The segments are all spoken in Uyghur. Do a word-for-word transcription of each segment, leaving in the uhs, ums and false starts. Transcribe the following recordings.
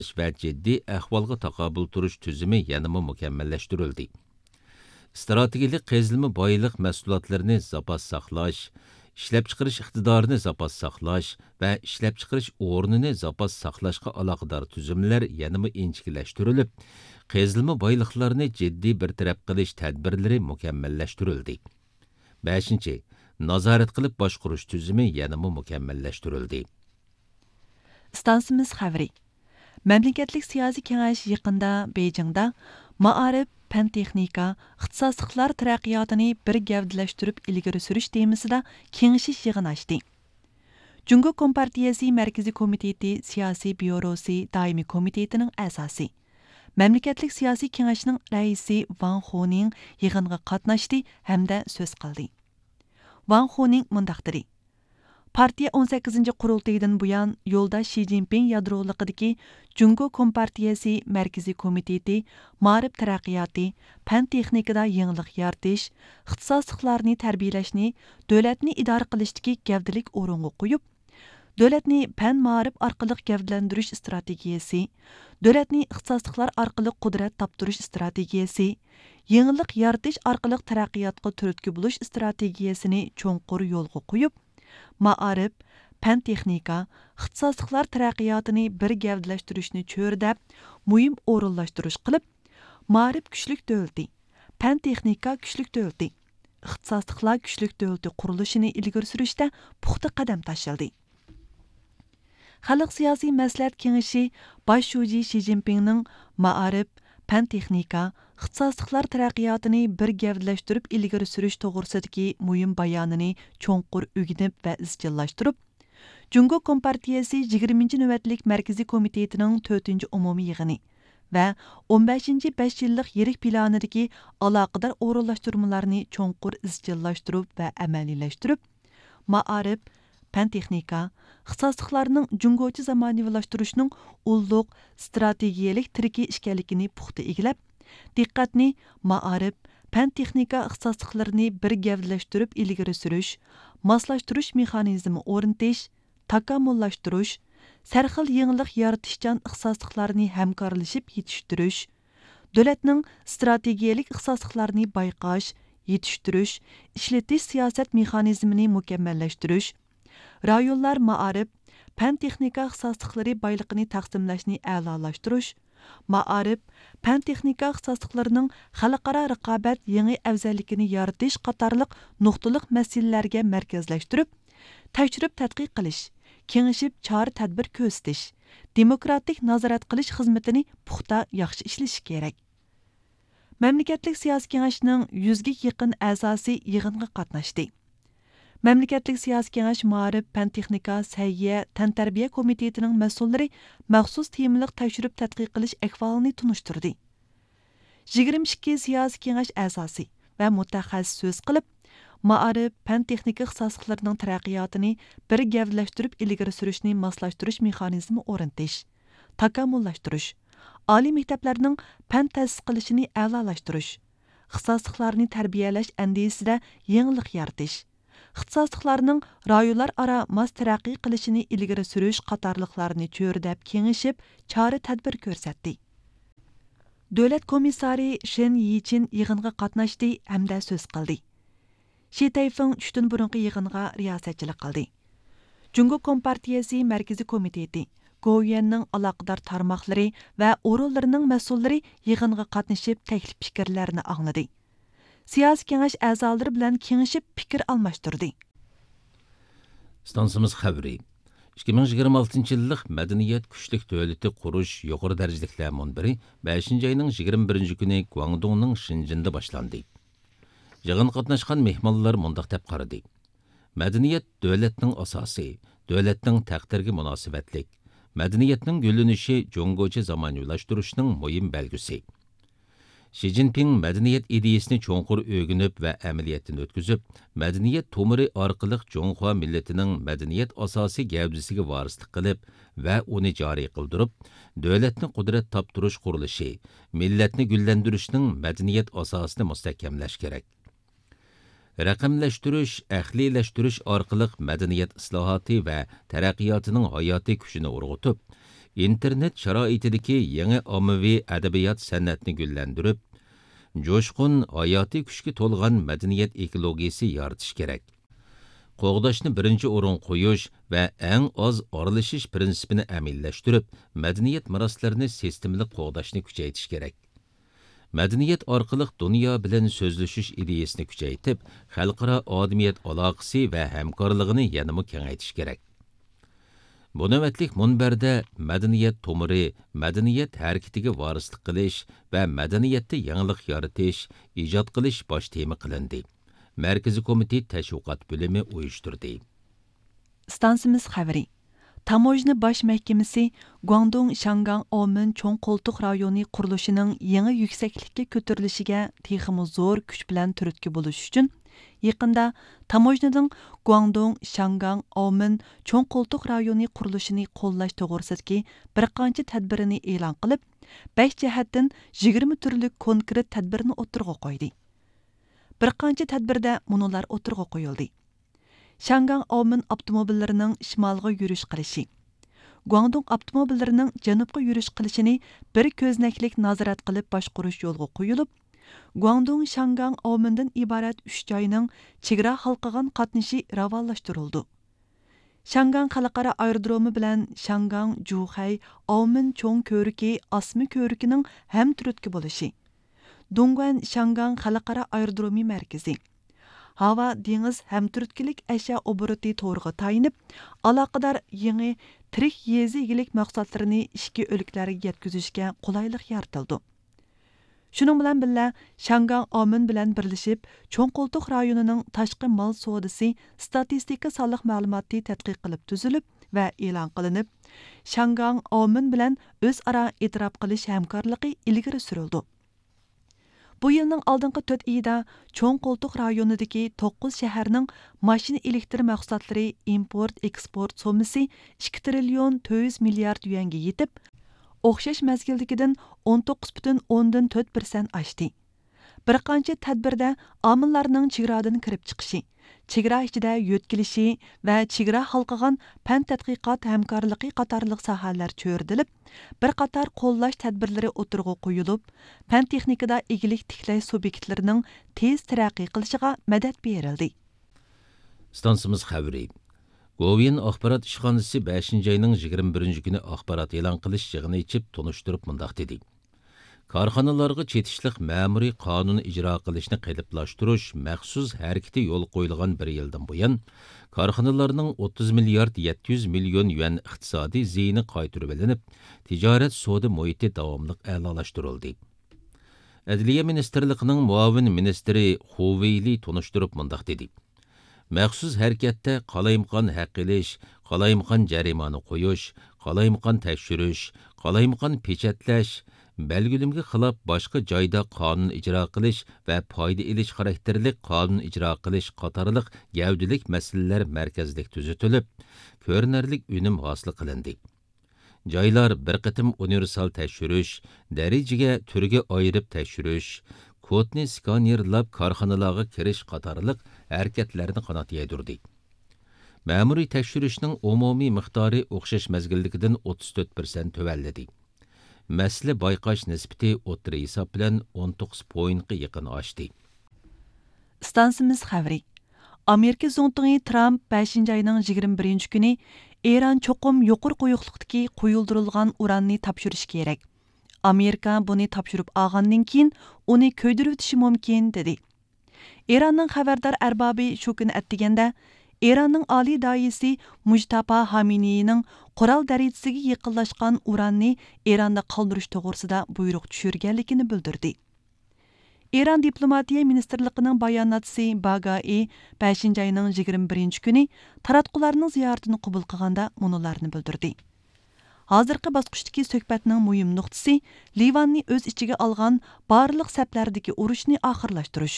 ساقلاش ۋە جىددىي ئەھۋالغا تاقابىل تۇرۇش تۈزۈمى يەنىمۇ مۇكەممەللەشتۈرۈلدى. ئىستراتېگىيەلىك قېزىلما بايلىق مەھسۇلاتلىرىنى زاپاس ساقلاش، ئىشلەپچىقىرىش ئىقتىدارىنى زاپاس ساقلاش ۋە ئىشلەپچىقىرىش ئورنىنى زاپاس ساقلاشقا ئالاقىدار تۈزۈملەر يەنىمۇ ئىنچىكىلەشتۈرۈلۈپ، قېزىلما بايلىقلارنى جىددىي بىر تەرەپ قىلىش تەدبىرلىرى مۇكەممەللەشتۈرۈلدى. بەشىنچى، نازارەت قىلىپ باشقۇرۇش تۈزۈمى يەنىمۇ مۇكەممەللەشتۈرۈلدى. ئىستانسىمىز خەۋىرى. مەملىكەتلىك سىياسىي كېڭەش يېقىندا بېيجىڭدا مائارىپ، پەن تېخنىكا، ئىختىساسلىقلار تەرەققىياتىنى بىر گەۋدىلەشتۈرۈپ ئىلگىرى سۈرۈش تېمىسىدا كېڭىشىش يىغىنى ئاچتى. جۇڭگو كومپارتىيەسى مەركىزىي كومىتېتى سىياسىي بيۇروسى دائىمىي كومىتېتىنىڭ ئەزاسى، مەملىكەتلىك سىياسىي كېڭەشنىڭ رەئىسى ۋاڭ خۇنىڭ يىغىنغا قاتناشتى ھەمدە سۆز قىلدى. ۋاڭ خۇنىڭ مۇنداق دېدى: پارتىيە ئون سەككىزىنچى قۇرۇلتىيىدىن بۇيان، يولداش شى جىنپىڭ يادرولۇقىدىكى جۇڭگو كومپارتىيەسى مەركىزىي كومىتېتى مائارىپ تەرەققىياتى، پەن تېخنىكىدا يېڭىلىق يارىتىش، ئىختىساسلىقلارنى تەربىيەلەشنى دۆلەتنى ئىدارە قىلىشتىكى گەۋدىلىك ئورۇنغا قويۇپ، دۆلەتنى پەن مائارىپ ئارقىلىق گەۋدىلەندۈرۈش ئىستراتېگىيەسى، دۆلەتنى ئىختىساسلىقلار ئارقىلىق قۇدرەت تاپتۇرۇش ئىستراتېگىيەسى، يېڭىلىق يارىتىش ئارقىلىق تەرەققىياتقا تۈرتكە بولۇش ئىستراتېگىيەسىنى چوڭقۇر يولغا قويۇپ، مائارىپ، پەن تېخنىكا، ئىختىساسلىقلار تەرەققىياتىنى بىر گەۋدىلەشتۈرۈشنى چۆرىدەپ، مۇھىم ئورۇنلاشتۇرۇش قىلىپ، مائارىپ كۈچلۈك دۆلىتى، پەن تېخنىكا كۈچلۈك دۆلىتى، ئىختىساسلىقلار كۈچلۈك دۆلىتى قۇرۇلۇشىنى ئىلگىرى سۈرۈشتە پۇختا قەدەم تاشلىدى. خەلق سىياسىي مەسلىھەت كېڭىشى باش شۇجى شى جىنپىڭنىڭ مائارىپ، پەن تېخنىكا، ئىختىساسلىقلار تەرەققىياتىنى بىر گەۋدىلەشتۈرۈپ ئىلگىرى سۈرۈش توغرىسىدىكى مۇھىم بايانىنى چوڭقۇر ئۆگىنىپ ۋە ئىزچىللاشتۇرۇپ، جۇڭگو كومپارتىيەسى يىگىرمىنچى نۆۋەتلىك مەركىزىي كومىتېتىنىڭ تۆتىنچى ئومۇمىي يىغىنى ۋە ئون بەشىنچى بەش يىللىق يىرىك پىلانىدىكى ئالاقىدار ئورۇنلاشتۇرمىلارنى چوڭقۇر ئىزچىللاشتۇرۇپ ۋە ئەمەلىيلەشتۈرۈپ، مائارىپ، پەن تېخنىكا، ئىختىساسلىقلارنىڭ جۇڭگوچە زامانىۋىلاشتۇرۇشنىڭ ئۇللۇق ئىستراتېگىيەلىك تىرىكى ئىكەنلىكىنى پۇختا ئىگىلەپ، دىققەتنى مائارىپ، پەن تېخنىكا ئىختىساسلىقلىرىنى بىر گەۋدىلەشتۈرۈپ ئىلگىرى سۈرۈش، ماسلاشتۇرۇش مېخانىزمى ئورنىتىش، تاكامۇللاشتۇرۇش، سەرخىل يېڭىلىق يارىتىشچان ئىختىساسلىقلارنى ھەمكارلىشىپ يېتىشتۈرۈش، دۆلەتنىڭ ئىستراتېگىيەلىك ئىختىساسلىقلارنى بايقاش، يېتىشتۈرۈش، ئىشلىتىش سىياسەت مېخانىزمىنى مۇكەممەللەشتۈرۈش، رايونلار مائارىپ، پەن تېخنىكا ئىختىساسلىقلىرى بايلىقىنى تەقسىملەشنى ئەلالاشتۇرۇش، مائارىپ، پەن تېخنىكا ئىختىساسلىقلىرىنىڭ خەلقئارا رىقابەت يېڭى ئەۋزەللىكىنى يارىتىش قاتارلىق نۇقتىلىق مەسىلىلەرگە مەركەزلەشتۈرۈپ، تەكشۈرۈپ تەتقىق قىلىش، كېڭىشىپ چارە تەدبىر كۆرسىتىش، دېموكراتىك نازارەت قىلىش خىزمىتىنى پۇختا، ياخشى ئىشلىشى كېرەك. مەملىكەتلىك سىياسىي كېڭەشنىڭ يۈزگە يېقىن ئەزاسى يىغىنغا قاتناشتى. مەملىكەتلىك سىياسىي كېڭەش مائارىپ، پەن تېخنىكا، سەھىيە، تەنتەربىيە كومىتېتىنىڭ مەسئۇللىرى مەخسۇس تېمىلىق تەكشۈرۈپ تەتقىق قىلىش ئەھۋالىنى تونۇشتۇردى. يىگىرمە ئىككى سىياسىي كېڭەش ئەزاسى ۋە مۇتەخەسسىس سۆز قىلىپ، مائارىپ، پەن تېخنىكا ئىختىساسلىقلىرىنىڭ تەرەققىياتىنى بىر گەۋدىلەشتۈرۈپ ئىلگىرى سۈرۈشنى ماسلاشتۇرۇش مېخانىزمى ئورنىتىش، تاكامۇللاشتۇرۇش، ئالىي مەكتەپلەرنىڭ پەن تەسىس قىلىشىنى ئەلالاشتۇرۇش، ئىختىساسلىقلارنى تەربىيەلەش ئەندىزىسىدە يېڭىلىق يارىتىش، ئىختىساسلىقلارنىڭ رايونلار ئارا ماس تەرەققىي قىلىشىنى ئىلگىرى سۈرۈش قاتارلىقلارنى چۆرىدەپ كېڭىشىپ، چارە تەدبىر كۆرسەتتى. دۆلەت كومىسسارى شېن يىچىن يىغىنغا قاتناشتى ھەمدە سۆز قىلدى. شى تەيفېڭ چۈشتىن بۇرۇنقى يىغىنغا رىياسەتچىلىك قىلدى. جۇڭگو كومپارتىيەسى مەركىزىي كومىتېتى، گوۋۇيۈەننىڭ ئالاقىدار تارماقلىرى ۋە ئورۇنلىرىنىڭ مەسئۇللىرى يىغىنغا قاتنىشىپ، تەكلىپ پىكىرلەرنى ئاڭلىدى. سىياسىي كېڭەش ئەزالىرى بىلەن كېڭىشىپ پىكىر ئالماشتۇردى. ئىستانسىمىز خەۋىرى. ئىككى مىڭ يىگىرمە ئالتىنچى يىللىق مەدەنىيەت كۈچلۈك دۆلىتى قۇرۇش يۇقىرى دەرىجىلىكلەر مۇنبىرى بەشىنچى ئاينىڭ يىگىرمە بىرىنچى كۈنى گۇاڭدۇڭنىڭ شېنجېندا باشلاندى. يىغىنغا قاتناشقان مېھمانلار مۇنداق دەپ قارىدى: مەدەنىيەت دۆلەتنىڭ ئاساسى، دۆلەتنىڭ تەقدىرىگە مۇناسىۋەتلىك. مەدەنىيەتنىڭ گۈللىنىشى جۇڭگوچە زامانىۋىلاشتۇرۇشنىڭ مۇھىم بەلگىسى. شى جىنپىڭ مەدەنىيەت ئىدىيىسىنى چوڭقۇر ئۆگىنىپ ۋە ئەمەلىيەتتىن ئۆتكۈزۈپ، مەدەنىيەت تومۇرى ئارقىلىق جۇڭخۇا مىللىتىنىڭ مەدەنىيەت ئاساسىي گەۋدىسىگە ۋارىسلىق قىلىپ ۋە ئۇنى جارى قىلدۇرۇپ، دۆلەتنى قۇدرەت تاپتۇرۇش قۇرۇلۇشى، مىللەتنى گۈللەندۈرۈشنىڭ مەدەنىيەت ئاساسىنى مۇستەھكەملەش كېرەك. رەقەملەشتۈرۈش، ئەقلىيلەشتۈرۈش ئارقىلىق مەدەنىيەت ئىسلاھاتى ۋە تەرەققىياتىنىڭ ھاياتىي كۈچىنى ئۇرغۇتۇپ، ئىنتېرنېت شارائىتىدىكى يېڭى ئاممىۋى ئەدەبىيات سەنئەتنى گۈللەندۈرۈپ، جۇشقۇن، ھاياتىي كۈچكە تولغان مەدەنىيەت ئېكولوگىيىسى يارىتىش كېرەك. قوغداشنى بىرىنچى ئورۇنغا قويۇش ۋە ئەڭ ئاز ئارىلىشىش پىرىنسىپىنى ئەمەلىيلەشتۈرۈپ، مەدەنىيەت مىراسلىرىنى سىستېمىلىق قوغداشنى كۈچەيتىش كېرەك. مەدەنىيەت ئارقىلىق دۇنيا بىلەن سۆزلىشىش ئىدىيەسىنى كۈچەيتىپ، خەلقئارا ئادەمىيەت ئالاقىسى ۋە ھەمكارلىقىنى يەنىمۇ كېڭەيتىش كېرەك. بۇ نۆۋەتلىك مۇنبەردە مەدەنىيەت تومۇرى، مەدەنىيەت ھەرىكىتىگە ۋارىسلىق قىلىش ۋە مەدەنىيەتتە يېڭىلىق يارىتىش، ئىجاد قىلىش باش تېما قىلىندى. مەركىزىي كومىتېت تەشۋىقات بۆلۈمى ئۇيۇشتۇردى. ئىستانسىمىز خەۋىرى. تاموژنا باش مەھكىمىسى گۇاڭدۇڭ شياڭگاڭ ئاۋمېن چوڭ قولتۇق رايونى قۇرۇلۇشىنىڭ يېڭى يۈكسەكلىككە كۆتۈرۈلۈشىگە تېخىمۇ زور كۈچ بىلەن تۈرتكە بولۇش ئۈچۈن، يېقىندا تاموژنىنىڭ گۇاڭدۇڭ شياڭگاڭ ئاۋمېن چوڭ قولتۇق رايونى قۇرۇلۇشىنى قوللاش توغرىسىدىكى بىر قانچە تەدبىرىنى ئېلان قىلىپ، بەش جەھەتتىن يىگىرمە تۈرلۈك كونكرېت تەدبىرنى ئوتتۇرىغا قويدى. بىر قانچە تەدبىرىدە مۇنۇلار ئوتتۇرىغا قويۇلدى. شياڭگاڭ ئاۋمېن ئاپتوموبىللىرىنىڭ شىمالغا يۈرۈش قىلىشى، گۇاڭدۇڭ ئاپتوموبىللىرىنىڭ جەنۇبقا يۈرۈش قىلىشىنى بىر كۆزنەكلىك نازارەت قىلىپ باشقۇرۇش يولغا قويۇلۇپ، گۇاڭدۇڭ شياڭگاڭ ئاۋمېندىن ئىبارەت ئۈچ جاينىڭ چېگرا ھالقىغان قاتنىشى راۋانلاشتۇرۇلىدۇ. شياڭگاڭ خەلقئارا ئايرودرومى بىلەن شياڭگاڭ جۇخەي ئاۋمېن چوڭ كۆۋرۈكى ئاسما كۆۋرۈكىنىڭ ھەمتۈرتكە بولۇشى، دۇڭگۇەن شياڭگاڭ خەلقئارا ئايرودرومى مەركىزى، ھاۋا دېڭىز ھەمتۈرتكىلىك ئەشيا ئوبوروتى تورىغا تايىنىپ، ئالاقىدار يېڭى تىرىك يېزا ئىگىلىك مەھسۇلاتلىرىنى ئىچكى ئۆلكىلەرگە يەتكۈزۈشكە قولايلىق يارىتىلىدۇ. شۇنىڭ بىلەن بىللە، شياڭگاڭ ئاۋمېن بىلەن بىرلىشىپ، چوڭ قولتۇق رايونىنىڭ تاشقى مال سودىسى ستاتىستىكا سانلىق مەلۇماتى تەتقىق قىلىپ تۈزۈلۈپ ۋە ئېلان قىلىنىپ، شياڭگاڭ ئاۋمېن بىلەن ئۆزئارا ئېتىراپ قىلىش ھەمكارلىقى ئىلگىرى سۈرۈلىدۇ. بۇ يىلنىڭ ئالدىنقى تۆت ئېيىدا چوڭ قولتۇق رايونىدىكى توققۇز شەھەرنىڭ ماشىنا ئېلېكتر مەھسۇلاتلىرى ئىمپورت ئېكسپورت سوممىسى ئىككى تىرىليون تۆت يۈز مىليارد يۈەنگە يېتىپ، ئوخشاش مەزگىلدىكىدىن ئون توققۇز پۈتۈن ئوندىن تۆت پىرسەنت ئاشتى. بىر قانچە تەدبىردە ئامىللارنىڭ چېگرادىن كىرىپ چىقىشى، چېگرا ئىچىدە يۆتكىلىشى ۋە چېگرا ھالقىغان پەن تەتقىقات ھەمكارلىقى قاتارلىق ساھەلەر چۆرىدىلىپ، بىر قاتار قوللاش تەدبىرلىرى ئوتتۇرىغا قويۇلۇپ، پەن تېخنىكىدا ئىگىلىك تىكلەش سۇبيېكتلىرىنىڭ تېز تەرەققىي قىلىشىغا مەدەت بېرىلدى. ئىستانسىمىز خەۋىرى. گوۋۇيۈەن ئاخبارات ئىشخانىسى بەشىنچى ئاينىڭ يىگىرمە بىرىنچى كۈنى ئاخبارات ئېلان قىلىش يىغىنى ئېچىپ تونۇشتۇرۇپ مۇنداق دېدى: كارخانىلارغا چېتىشلىق مەمۇرىي قانۇن ئىجرا قىلىشنى قېلىپلاشتۇرۇش مەخسۇس ھەرىكىتى يولغا قويۇلغان بىر يىلدىن بۇيان، كارخانىلارنىڭ ئوتتۇز مىليارد يەتتە يۈز مىليون يۈەن ئىقتىسادىي زىيىنى قايتۇرۇۋېلىنىپ، تىجارەت سودا مۇھىتى داۋاملىق ئەلالاشتۇرۇلدى. ئەدلىيە مىنىستىرلىقىنىڭ مۇئاۋىن مىنىستىرى خۇ ۋېيلى تونۇشتۇرۇپ مۇنداق دېدى: مەخسۇس ھەرىكەتتە قالايمىقان ھەق ئېلىش، قالايمىقان جەرىمانە قويۇش، قالايمىقان تەكشۈرۈش، قالايمىقان پېچەتلەش، بەلگىلىمىگە خىلاپ باشقا جايدا قانۇن ئىجرا قىلىش ۋە پايدا ئېلىش خاراكتېرلىك قانۇن ئىجرا قىلىش قاتارلىق گەۋدىلىك مەسىلىلەر مەركەزلىك تۈزىتىلىپ، كۆرۈنەرلىك ئۈنۈم ھاسىل قىلىندى. جايلار بىر قېتىم ئۇنىۋېرسال تەكشۈرۈش، دەرىجىگە، تۈرگە ئايرىپ تەكشۈرۈش، كودنى سكانېرلاپ كارخانىلارغا كىرىش قاتارلىق ھەرىكەتلەرنى قانات يايدۇردى. مەمۇرىي تەكشۈرۈشنىڭ ئومۇمىي مىقدارى ئوخشاش مەزگىلدىكىدىن ئوتتۇز تۆت پىرسەنت تۆۋەنلىدى. مەسىلە بايقاش نىسبىتى ئوتتۇرا ھېساب بىلەن ئون توققۇز پوينتقا يېقىن ئاشتى. ئىستانسىمىز خەۋىرى. ئامېرىكا زۇڭتۇڭى ترامپ بەشىنچى ئاينىڭ يىگىرمە بىرىنچى كۈنى ئىران چوقۇم يۇقىرى قويۇقلۇقتىكى قويۇلدۇرۇلغان ئۇراننى تاپشۇرۇشى كېرەك. ئامېرىكا بۇنى تاپشۇرۇپ ئالغاندىن كېيىن ئۇنى كۆيدۈرۈۋېتىشى مۇمكىن، دېدى. ئىراننىڭ خەۋەردار ئەربابى شۇ كۈنى ئەتىگەندە، ئىراننىڭ ئالىي داھىيسى مۇجتاپا خامېنىينىڭ قورال دەرىجىسىگە يېقىنلاشقان ئۇراننى ئىراندا قالدۇرۇش توغرىسىدا بۇيرۇق چۈشۈرگەنلىكىنى بىلدۈردى. ئىران دىپلوماتىيە مىنىستىرلىقىنىڭ باياناتچىسى باگائى بەشىنچى ئاينىڭ يىگىرمە بىرىنچى كۈنى تاراتقۇلارنىڭ زىيارىتىنى قوبۇل قىلغاندا مۇنۇلارنى بىلدۈردى: ھازىرقى باسقۇچتىكى سۆھبەتنىڭ مۇھىم نۇقتىسى لىۋاننى ئۆز ئىچىگە ئالغان بارلىق سەپلەردىكى ئۇرۇشنى ئاخىرلاشتۇرۇش.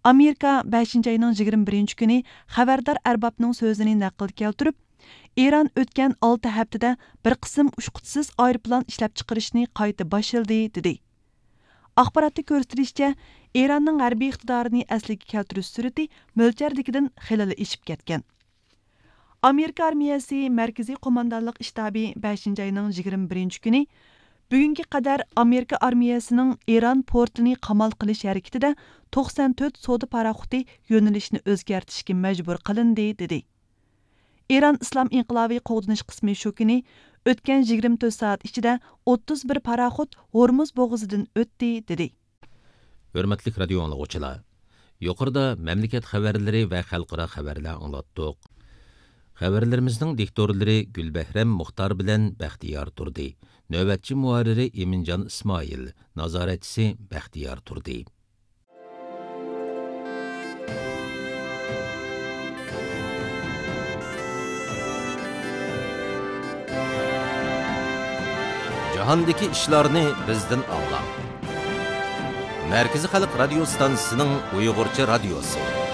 ئامېرىكا بەشىنچى ئاينىڭ يىگىرمە بىرىنچى كۈنى خەۋەردار ئەربابنىڭ سۆزىنى نەقىل كەلتۈرۈپ، ئىران ئۆتكەن ئالتە ھەپتىدە بىر قىسىم ئۇچقۇچىسىز ئايروپىلان ئىشلەپچىقىرىشنى قايتا باشلىدى، دېدى. ئاخباراتتا كۆرسىتىلىشىچە، ئىراننىڭ ھەربىي ئىقتىدارىنى ئەسلىگە كەلتۈرۈش سۈرئىتى مۆلچەردىكىدىن خېلىلا ئېشىپ كەتكەن. ئامېرىكا ئارمىيەسى مەركىزىي قوماندانلىق شتابى بەشىنچى ئاينىڭ يىگىرمە بىرىنچى كۈنى بۈگۈنگە قەدەر ئامېرىكا ئارمىيەسىنىڭ ئىران پورتىنى قامال قىلىش ھەرىكىتىدە توقسان تۆت سودا پاراخوتى يۆنىلىشىنى ئۆزگەرتىشكە مەجبۇر قىلىندى، دېدى. ئىران ئىسلام ئىنقىلابى قوغدىنىش قىسمى شۇ كۈنى ئۆتكەن يىگىرمە تۆت سائەت ئىچىدە ئوتتۇز بىر پاراخوت ھورمۇز بوغۇزىدىن ئۆتتى، دېدى. ھۆرمەتلىك رادىيو ئاڭلىغۇچىلار، يۇقىرىدا مەملىكەت خەۋەرلىرى ۋە خەلقئارا خەۋەرلەر ئاڭلاتتۇق. خەۋەرلىرىمىزنىڭ دىكتورلىرى گۈلبەھرەم مۇختار بىلەن بەختىيار تۇردى. نۆۋەتچى مۇھەررىرى ئىمىنجان ئىسمائىل، نازارەتچىسى بەختىيار تۇردى. جاھاندىكى ئىشلارنى بىزدىن ئاڭلاڭ. مەركىزىي خەلق رادىيو ستانسىسىنىڭ ئۇيغۇرچە رادىيوسى.